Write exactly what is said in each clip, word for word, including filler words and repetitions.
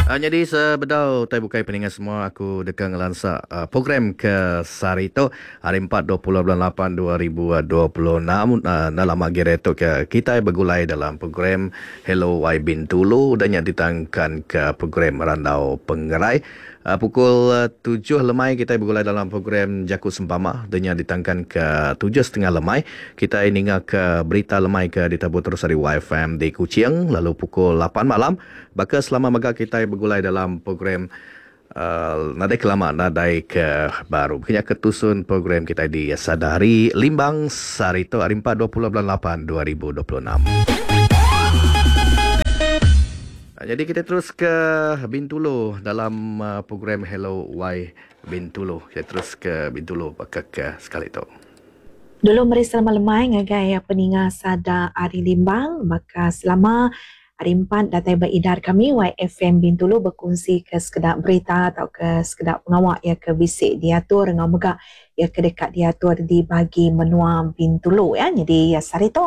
Uh, jadi sebedau tai bukai peninga semua, aku deka ngelansa uh, program ke sehari tu, hari empat dua puluh bulan lapan dua ribu dua puluh enam, uh, dalam agi tu ke kita bergulai dalam program Hello Y Bintulu dan yang ditangkan ke program Randau Pengerai. Uh, pukul tujuh lemai kita bergulai dalam program Jaku Sempama dan yang ditangkan ke tujuh setengah lemai kita ninga ke berita lemai ke ditabur terus dari Y F M di Kuching. Lalu pukul lapan malam baka selama mega kita bergulai dalam program uh, nadai kelama nadai ke baru. Kena ketusun program kita di Sadari Limbang sehari tu hari empat dua puluh bulan lapan dua ribu dua puluh enam. Jadi kita terus ke Bintulu dalam uh, program Hello Y Bintulu. Kita terus ke Bintulu pakai ke sekali tu. Dulu meri selamat lemai ngagai peninga Sada Ari Limbang, maka selama hari empat datai beridar kami Y F M Bintulu berkongsi ke sekedar berita atau ke sekedar pengawak ya ke bisik diatur ngau mega ya ke dekat diatur di bagi menua Bintulu ya. Jadi ya sehari tu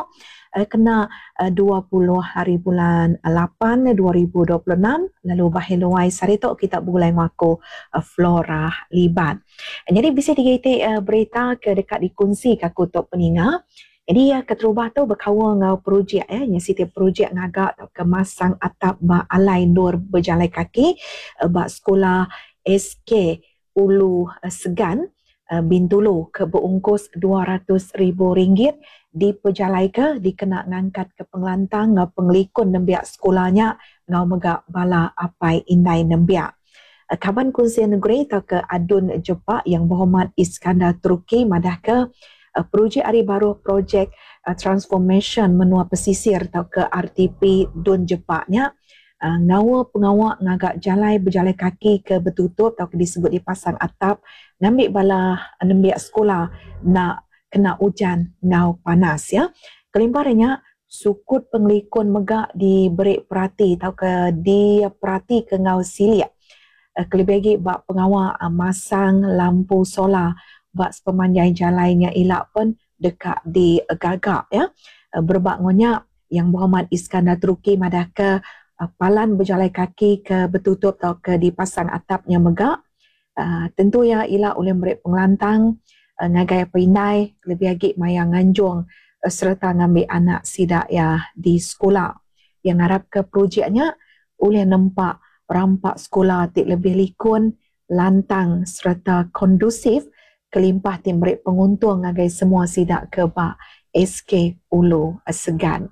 kena dua puluh hari bulan lapan dua ribu dua puluh enam lalu baheluai sehari tu kita bergulai ngaku Flora Liban. Jadi bisa tiga itik berita ke dekat dikongsi ke aku tok peninga. Jadi ya keterubah tu berkawal ngau projek ya, yang setiap projek ngagak atau kemasang atap ba alai nur berjalan kaki ba sekolah S K Ulu Segan Bintulu ke berungkus dua ratus ribu ringgit diperjalai ke dikena ngangkat ke pengelantang ngau pengelikun nembiak sekolahnya ngau megak bala apai indai nembiak. Kaban Kunsi Negeri atau ke Adun Jepak yang berhormat Iskandar Turki madah ke projek hari baru projek transformation menua pesisir atau ke R T P Dun Jepaknya ngawa pengawak ngagak jalai berjalai kaki ke bertutup atau ke disebut dipasang atap ngambil bala nembiak sekolah nak kena hujan ngau panas ya. Kelimparnya sukut pengelikun megak diberi perhati atau ke diperhati ke ngau siliak. Kelebih lagi bak pengawak masang lampu solar bak sepemanjai jalannya elak pun dekat di gagak ya. Berbak ngonyak yang Muhammad Iskandar Turki madah ke palan berjalan kaki ke bertutup atau ke dipasang atapnya megak. Uh, tentu ya elak oleh mereka pengelantang uh, ngagai perinai lebih lagi maya nganjung uh, serta ngambil anak sidak ya di sekolah. Yang harap ke projeknya oleh nempak rampak sekolah tik lebih likun, lantang serta kondusif kelimpah tim mereka penguntung ngagai semua sidak ke bak S K Ulu Segan.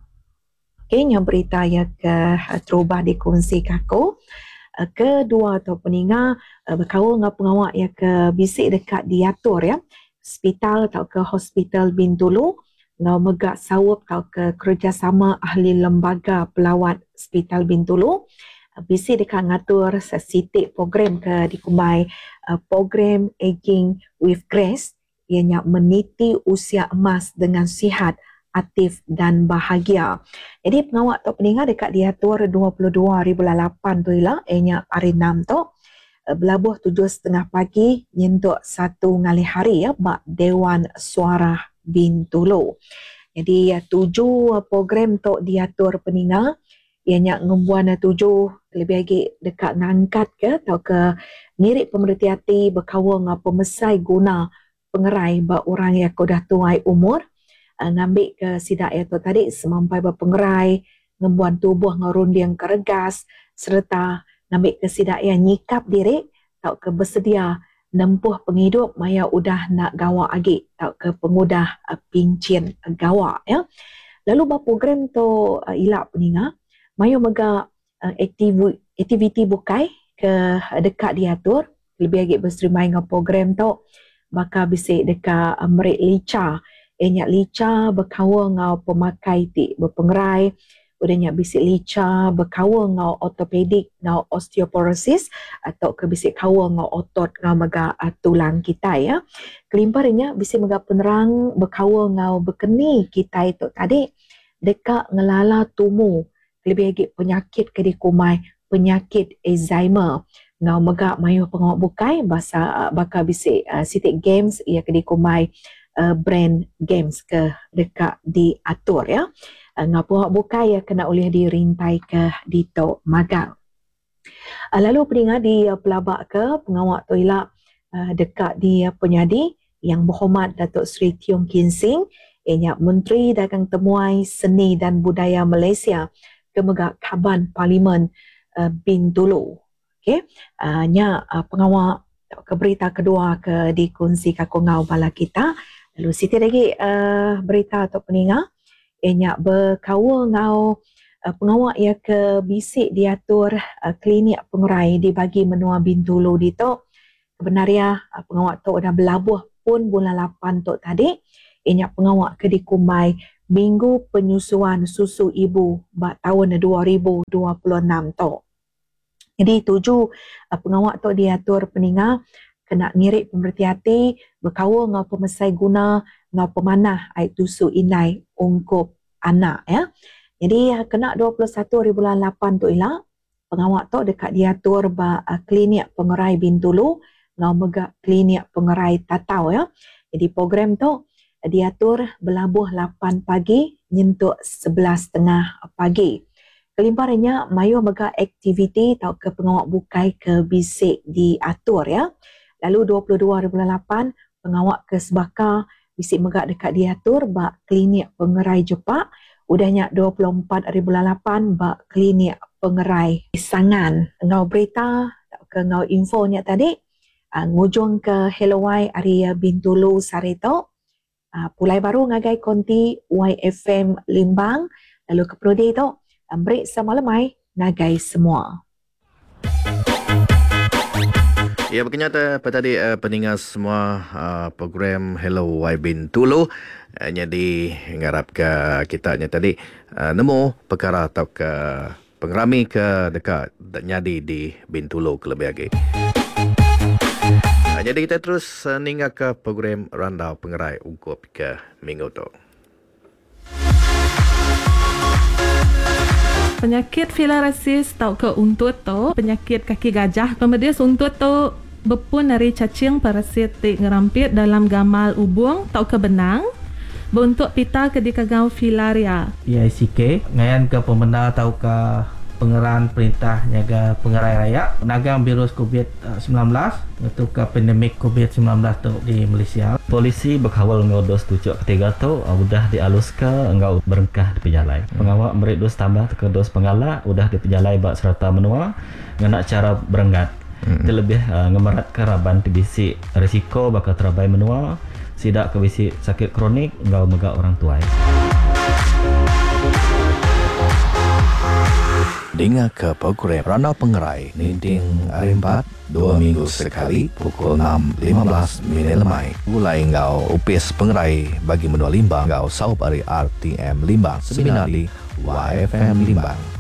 Okey, yang berita ya ke terubah dikongsi kaku. Kedua atau peninga berkaul dengan pengawak ya ke bisik dekat diatur ya. Hospital atau ke Hospital Bintulu ngau megak sawap atau ke kerjasama ahli lembaga pelawat Hospital Bintulu. Bisik dekat ngatur sesitik program ke dikumbai program Aging with Grace ianya meniti usia emas dengan sihat, aktif dan bahagia. Jadi pengawak tok peninga dekat diatur dua puluh dua hari bulan lapan tu ialah ianya hari enam tu belabuh tujuh setengah pagi nyentuk satu ngalih hari ya bak Dewan Suara Bintulu. Jadi tujuh program tok diatur peninga ianya ngembuan tujuh lebih lagi dekat ngangkat ke atau ke ngirik pemerhati hati berkawal dengan pemesai guna pengerai bak orang yang dah tuai umur ngambil ke sidak itu tadi semampai berpengerai ngembuan tubuh ngerunding keregas serta ngambil ke sidak yang nyikap diri atau ke bersedia nempuh penghidup maya udah nak gawak agi atau ke pengudah pincin gawak ya. Lalu bah program tu uh, ilak peninga maya mega uh, aktivi, aktiviti bukai ke dekat diatur lebih agi berserimai dengan program tu maka bisik dekat uh, merik lica enyak lica berkawal ngau pemakai ti berpengerai udahnya bisik lica berkawal ngau ortopedik ngau osteoporosis atau ke bisik kawal ngau otot ngau mega tulang kita ya. Kelimparnya bisik mega penerang berkawal ngau berkeni kita itu tadi dekat ngelala tumu lebih lagi penyakit ke dikumai penyakit Alzheimer ngau mega mayu pengawak bukai basa bakal bisik uh, sitik games ia ke dikumai uh, brand games ke dekat diatur ya. Uh, ngau pengawak bukai ya kena oleh dirintai ke dito magang. Uh, lalu peninga di uh, pelabak ke pengawak tu ila uh, dekat di uh, penyadi Yang Berhormat Datuk Seri Tiong Kin Sing, ianya Menteri Dagang Temuai Seni dan Budaya Malaysia ke mega Kaban Parlimen uh, Bintulu. Okey, uh, nya uh, pengawak ke berita kedua ke dikongsi ka ngau bala kita. Lalu siti lagi uh, berita atau peninga ianya berkaul ngau uh, pengawak ia ke bisik diatur uh, klinik pengerai di bagi menua Bintulu ditu. Kebenaria uh, pengawak tu dah berlabuh pun bulan lapan tu tadi. Ianya pengawak ke dikumbai Minggu Penyusuan Susu Ibu bak tahun dua ribu dua puluh enam tu. Jadi tuju uh, pengawak tu diatur peninga kena ngirik pemerhati hati berkaul ngau pemesai guna ngau pemanah air tusu indai ungkup anak ya. Jadi uh, kena dua puluh satu hari bulan lapan tu ila pengawak tu dekat diatur ba, uh, klinik pengerai Bintulu ngau mega klinik pengerai Tatau ya. Jadi program tu diatur berlabuh lapan pagi nyentuk sebelas setengah pagi. Kelimparnya mayu mega aktiviti tau ke pengawak bukai ke bisik diatur ya. Lalu dua puluh dua hari bulan lapan pengawak ke Sebaka bisik mega dekat diatur ba klinik pengerai Jepak. Udahnya dua puluh empat hari bulan lapan ba klinik pengerai Sangan. Ngau berita tau ke ngau infonya tadi, ah, ngujung ke Hello Y hari Bintulu Sarito. Ah, pulai baru ngagai konti Y F M Limbang. Lalu ke Prodi tu, break sama lemai ngagai semua. Ya, berkenyata apa tadi, uh, pendengar semua, uh, program Hello Y Bintulu. Uh, jadi ngarap ke kita nya tadi, uh, nemu perkara atau ke pengerami ke dekat nyadi di Bintulu ke lebih lagi. Uh, jadi kita terus, uh, ninggal ke program Randau Pengerai ungkup ke minggu tu. Penyakit filariasis tau ke untut tu, penyakit kaki gajah. Pemedis untut tu berpun dari cacing parasit ti ngerampit dalam gamal ubung tau ke benang. Bentuk pita ke dikagau filaria. P I C K ngayan ke pemenda tau ke pengeran perintah nyaga pengerai raya nagang virus covid sembilan belas itu ke pandemik covid sembilan belas tu di Malaysia. Polisi berkawal ngau dos tujuh ketiga tu udah dialus ke ngau berengkah di pejalai. Hmm. Pengawak merik dos tambah ke dos penggalak udah di pejalai bak serata menua ngena cara berenggat. Hmm. Terlebih uh, ngemerat ke raban T B C risiko bakal terabai menua sidak ke bisi sakit kronik ngau mega orang tuai. Dengar ke program Randau Pengerai Ninting hari empat, dua minggu sekali pukul enam lima belas minit lemai. Gulai ngau upis pengerai bagi menua Limbang ngau saup hari R T M Limbang. Seminar di Y F M Limbang.